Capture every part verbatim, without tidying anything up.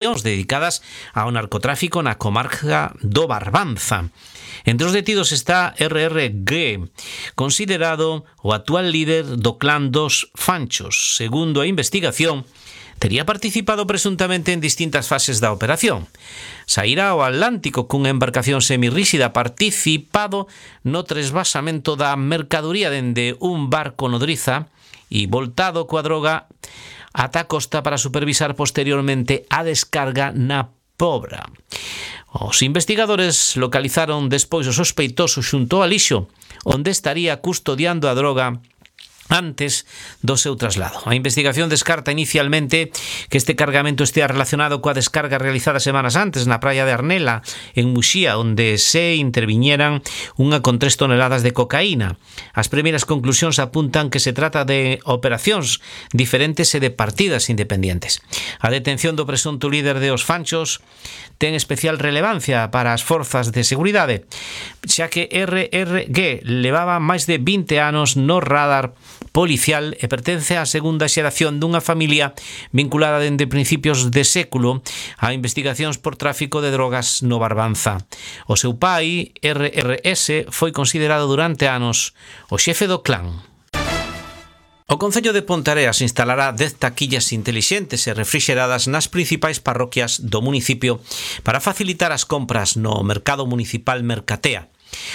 dedicadas ao narcotráfico na comarca do Barbanza. Entre os detidos está R R G, considerado o actual líder do clan dos Fanchos. Segundo a investigación, tería participado presuntamente en distintas fases da operación. Saíra ao Atlántico cunha embarcación semirríxida, participado no tresvasamento da mercadoría dende un barco nodriza e voltado coa droga ata a costa para supervisar posteriormente a descarga na Pobra. Os investigadores localizaron despois o sospeitoso xunto ao lixo, onde estaría custodiando a droga antes do seu traslado. A investigación descarta inicialmente que este cargamento estea relacionado coa descarga realizada semanas antes na praia de Arnela, en Muxía, onde se interviñeran unha con tres toneladas de cocaína. As primeiras conclusións apuntan que se trata de operacións diferentes e de partidas independientes. A detención do presunto líder de Os Fanchos ten especial relevancia para as forzas de seguridade, xa que R R G levaba máis de vinte anos no radar policial e pertence á segunda xeración dunha familia vinculada dende principios de século a investigacións por tráfico de drogas no Barbanza. O seu pai, R R S, foi considerado durante anos o xefe do clan. O Concello de Ponteareas instalará dez taquillas intelixentes e refrixeradas nas principais parroquias do municipio para facilitar as compras no mercado municipal Mercatea.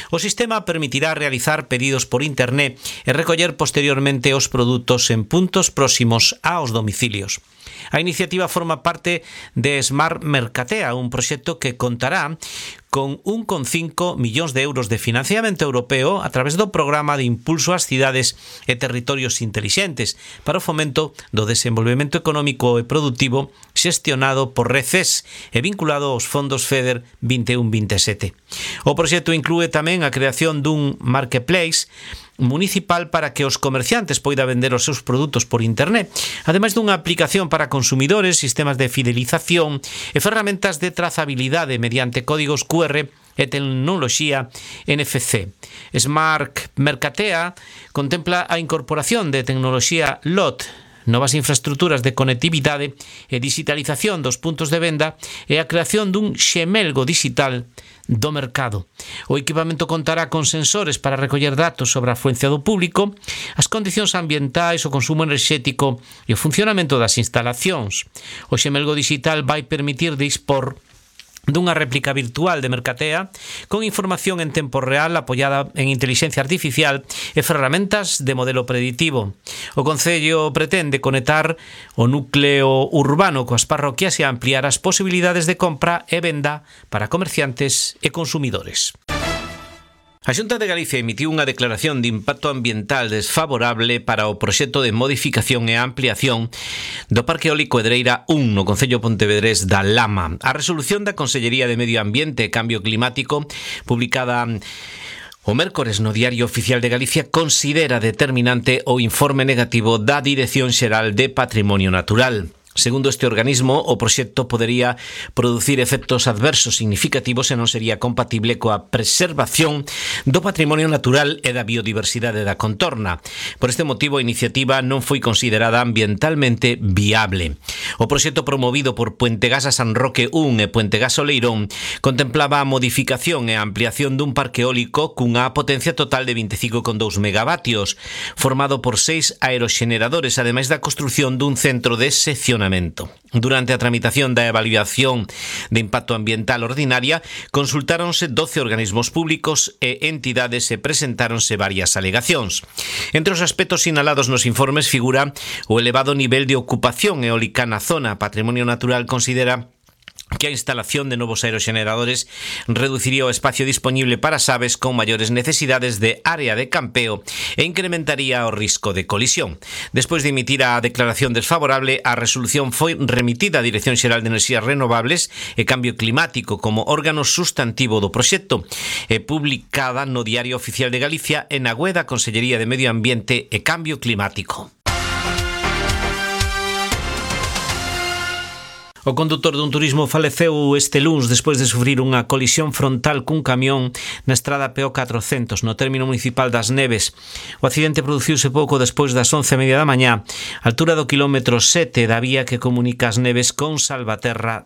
O sistema permitirá realizar pedidos por internet e recoller posteriormente os produtos en puntos próximos aos domicilios. A iniciativa forma parte de Smart Mercatea, un proxecto que contará con un coma cinco millóns de euros de financiamento europeo a través do Programa de Impulso ás Cidades e Territorios Intelixentes para o fomento do desenvolvemento económico e productivo xestionado por RECES e vinculado aos fondos FEDER vinte e un vinte e sete. O proxecto inclúe tamén a creación dun marketplace municipal para que os comerciantes poidan vender os seus produtos por internet, ademais dunha aplicación para consumidores, sistemas de fidelización e ferramentas de trazabilidade mediante códigos Q R e tecnoloxía N F C. Smart Mercatea contempla a incorporación de tecnoloxía L O T, novas infraestructuras de conectividade e digitalización dos puntos de venda e a creación dun xemelgo digital do mercado. O equipamento contará con sensores para recoller datos sobre a afluencia do público, as condicións ambientais, o consumo enerxético e o funcionamento das instalacións. O xemelgo digital vai permitir dispor dunha réplica virtual de Mercatea con información en tempo real apoiada en intelixencia artificial e ferramentas de modelo preditivo. O Concello pretende conectar o núcleo urbano coas parroquias e ampliar as posibilidades de compra e venda para comerciantes e consumidores. A Xunta de Galicia emitiu unha declaración de impacto ambiental desfavorable para o proxecto de modificación e ampliación do Parque Eólico Edreira un no Concello pontevedrés da Lama. A resolución da Consellería de Medio Ambiente e Cambio Climático, publicada o mércores no Diario Oficial de Galicia, considera determinante o informe negativo da Dirección Xeral de Patrimonio Natural. Segundo este organismo, o proxecto podería producir efectos adversos significativos e non sería compatible coa preservación do patrimonio natural e da biodiversidade da contorna. Por este motivo, a iniciativa non foi considerada ambientalmente viable. O proxecto promovido por Puentegasa San Roque un e Puentegasa Oleirón contemplaba a modificación e a ampliación dun parque eólico cunha potencia total de vinte e cinco coma dous megavatios, formado por seis aeroxeneradores, ademais da construción dun centro de seccionamento. Durante a tramitación da evaluación de impacto ambiental ordinaria, consultáronse doce organismos públicos e entidades e presentáronse varias alegacións. Entre os aspectos sinalados nos informes figura o elevado nivel de ocupación eólica na zona. Patrimonio Natural considera que a instalación de novos aeroxeneradores reduciría o espacio disponible para as aves con maiores necesidades de área de campeo e incrementaría o risco de colisión. Despois de emitir a declaración desfavorable, a resolución foi remitida á Dirección Xeral de Enerxías Renovables e Cambio Climático como órgano sustantivo do proxecto e publicada no Diario Oficial de Galicia e na web da Consellería de Medio Ambiente e Cambio Climático. O condutor dun turismo faleceu este luns despois de sufrir unha colisión frontal cun camión na estrada P O catrocentos no término municipal das Neves. O accidente produciuse pouco despois das once e media da mañá, altura do quilómetro sete da vía que comunica as Neves con Salvaterra